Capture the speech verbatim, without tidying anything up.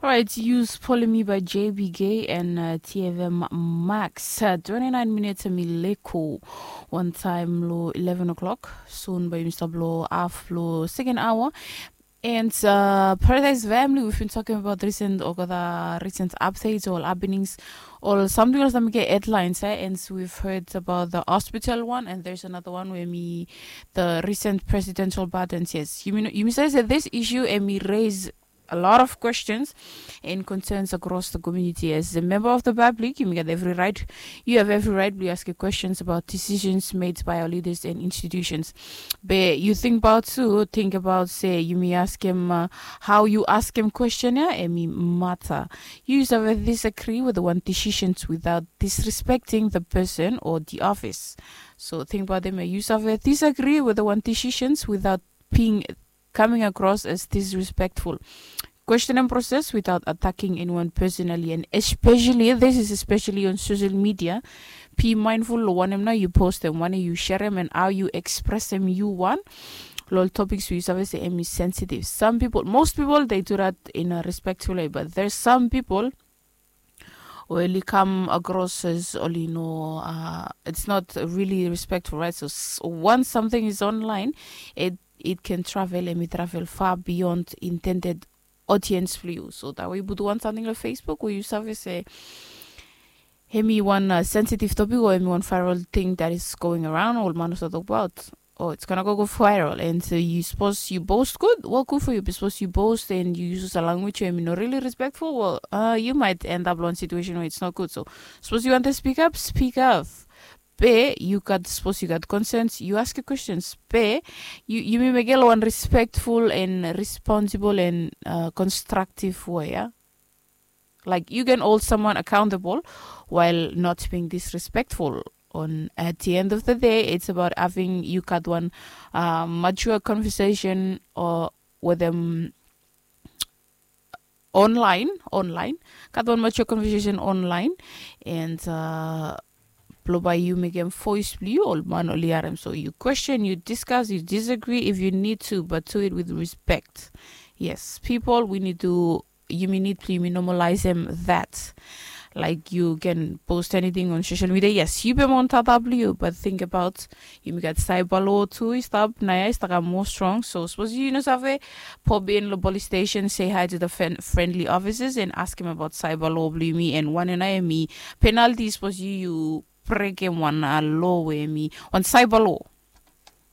Alright, yu spoli mi by J B K and uh, T F M Max. Uh, twenty-nine minutes and mi leko. One time lo eleven o'clock. Soon by Mister Blow half lo second hour. And uh, Paradise Family, we've been talking about recent or the recent updates or happenings or something else that we get headlines, eh? And so we've heard about the hospital one, and there's another one where me the recent presidential pardons. Yes, you mean you say that this issue and me raise a lot of questions and concerns across the community. As a member of the public, you get every right. You have every right to ask questions about decisions made by our leaders and institutions. But you think about too, think about say you may ask him uh, how you ask him question, yeah, and me matter. You have a disagree with the one decisions without disrespecting the person or the office. So think about them. You have a disagree with the one decisions without being coming across as disrespectful. Question and process without attacking anyone personally, and especially this is especially on social media. Be mindful lo wanem nao yu post em, wanem yu share em, and how yu express em yu wan. Lo ol topics we yu save se em is sensitive. Some people, most people, they do that in a respectful way, but there's some people oli kam across as oli no uh, it's not really respectful, right? So s- once something is online, it it can travel and it travel far beyond intended audience blue. So that way you put one something on Facebook where you service a hemi one uh, sensitive topic or hemi one viral thing that is going around all man was talk about. Oh, it's gonna go, go viral. And so you suppose you boast good? Well, good for you. Suppose you boast and you use a language where you're not really respectful. Well, uh, you might end up in a situation where it's not good. So suppose you want to speak up, speak up. Be you got suppose you got concerns, you ask your questions. Be you you may make one respectful and responsible and uh, constructive way. Yeah? Like you can hold someone accountable while not being disrespectful. On at the end of the day, it's about having you got one uh, mature conversation or with them online, online. Got one mature conversation online, and uh, blow by you make them voice blue all man oli harem. So you question, you discuss, you disagree if you need to, but do it with respect. Yes, people, we need to you may need to you may normalize them that like you can post anything on social media. Yes, you be on W, but think about you may get cyber law too. Stop naya is more strong. So suppose you know save pop in the police station, say hi to the friend, friendly officers and ask him about cyber law blue me and one and I me penalty suppose you you break him one uh, law with me on cyber law.